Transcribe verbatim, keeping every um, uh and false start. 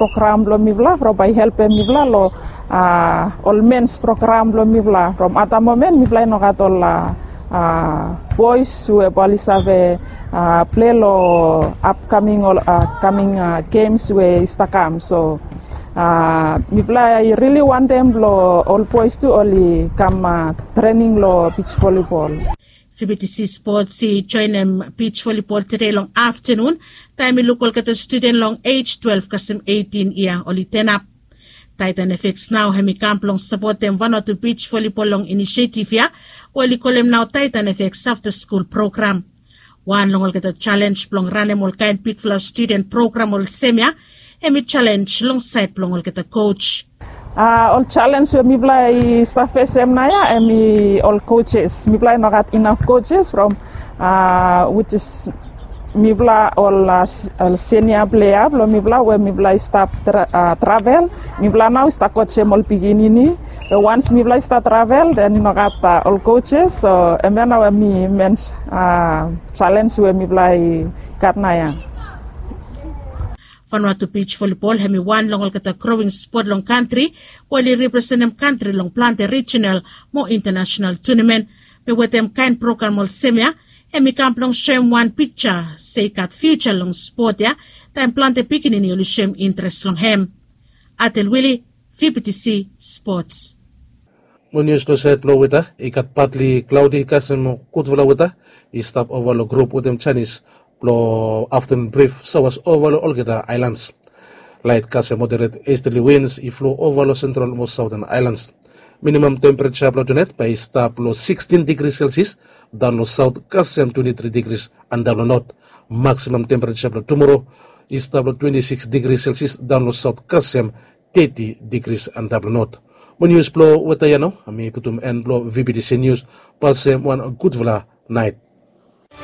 program blong mifala from bae i helpem mifala long ol mens program blong mifala from at da momen mifala i no gat ol bois we bae oli save plei long apkaming ol kaming gems we i stap kam. So mifala i rili wantem blong ol bois tu oli kam trening long beach volleyball. Fibitisi Spots i joenem beach volleyball tede long aftenun taem i luk olgeta studen long ej twelve kasem eitin yia oli tenap. Taitan efeks nao hem i kam blong sapotem vanatu beach volleyball long inisietif ya we oli kolem nao Taitan efeks afta skul program. Wan long olgeta jalenj blong ranem ol kaen bigfala studen program olsem ya hem i jalenj long saed blong olgeta koj. Ol jalenj we mifala i stap fesem nao ya hem i ol kojes. Mifala i no gat inaf kojes from wits is mifala ol senia plea blong mifala we mifala i stap travel. Mifala nao i stap kojem ol pikinini we wans mifala i stap travel den i no gat ol kojes. So hem ya nao hem i mens jalenj we mifala i gat nao ya. Vanuatu beach volleyball hem i wan long olgeta growing spot long kantri we oli representem kantri long plante rijinal mo intanasenal tunamen. Be wetem kaen program olsem ya hem i kam blong soem wan pikja se i gat fiuja long spot ya taem plante pikinini oli soem intres long hem. Atel Wili, Fibitisi Spots. Mo nius long saed blong weta i gat patli klaodi kasem gudfala weta i stap ova long grup wetem janis blong aftenun brif sawas ova long olgeta aelans. Laet kasem moderet estali wins i flo ova long sentral mo saoten aelans. Minimam tempereja blong tunaet bae i stap long sikstin digri selsias daon long saot kasem twenti tri digris antap long not. Maksimam tempereja blong tumoro i stap long twenti siks digri selsias daon long saot kasem teti digris antap long not. Mo nius blong weta ya nao mi putum en blong vibitisi nius. Pasem wan gudfala naet.